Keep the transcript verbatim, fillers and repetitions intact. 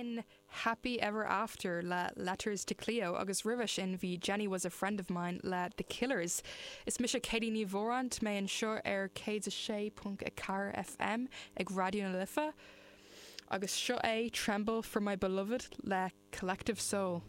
Sin Happy Ever After le Letters to Cleo agus roimhe sin bhí Jenny was a friend of mine le The Killers. Is mise Katie Ní Mhóráin mé anseo ar céad a sé ponc a ceathair FM ag Raidió na Life. Agus seo é Tremble for my beloved le Collective Soul.